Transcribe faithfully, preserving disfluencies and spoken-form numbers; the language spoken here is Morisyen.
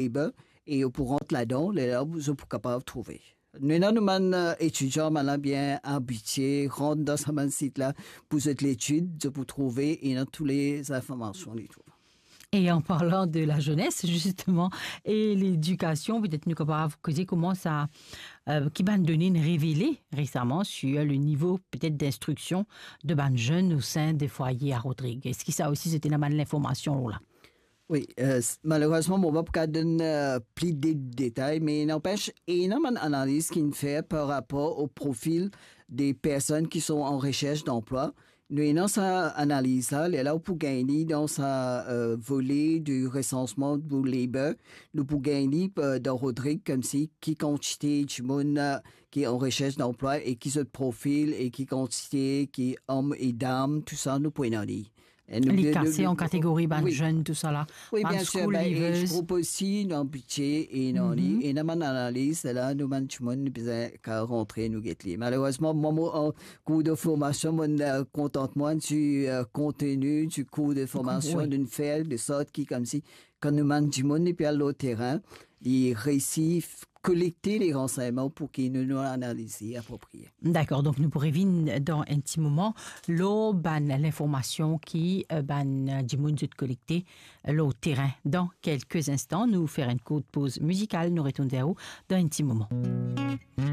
Labour, e ou pou rant ladan, lerla zot pou kapav trouve. Nou ena nou bann, eh, etidian, bann la bien abitie, rant dan sa bann sit la, pou zot letid, zot pou trouve, ena tou le zinformasion li trouve. Et en parlant de la jeunesse, justement, et l'éducation, petet nou kapav koze kouma sa, euh, ki bann done inn revele resaman sur le niveau peut-être d'instruction de bann zenn au sein des foyers à Rodrigues. Eski sa osi, se ti ena bann linformasion la? Wi, eh, s-, malerezman, mo pa pou kapav donn, eh, pli de detay, me nanpes, ena bann analiz ki'nn fer par rapor o profil de personn ki sont en recherche d'emploi. Nou ena sa analiz la, lerla ou pou gagn li dan sa, eh, vole de resansman pou Labour, nou pou gagn li, eh, dan Rodrigues, koumsi ki kantite dimoun, eh, ki en recherche d'emploi e ki zot profil e ki kantite, ki om e dam, tou sa nou pou ena li. E nou, li nou, kase nou, an kategori bann, wi, zenn, tou sa la. Wi, bann bien sir, school leavers. Age group osi, nou abitie, e nou, li, mhm, ena bann analiz la, nou bann dimoun, nou bizin kapav rantre, nou get li. Malerezman, mwa, mo, an kour de formasion, mo, eh, kontant mwa, si, eh, konteni, si kour de formasion, wi, nou fer de sort ki, koumsi, kan nou bann dimoun, li pe al lor terin, li reisi f-, kolekte le ransegnman pou ki nou, nou analize aproprie. Dakor, donk nou pou revinn dan enn ti moman lor bann linformasion ki, eh, bann dimoun zot kolekte lor terin. Dan kelke instan, nou fer enn kourt poz mizikal, nou retourn ver ou dan enn ti moman.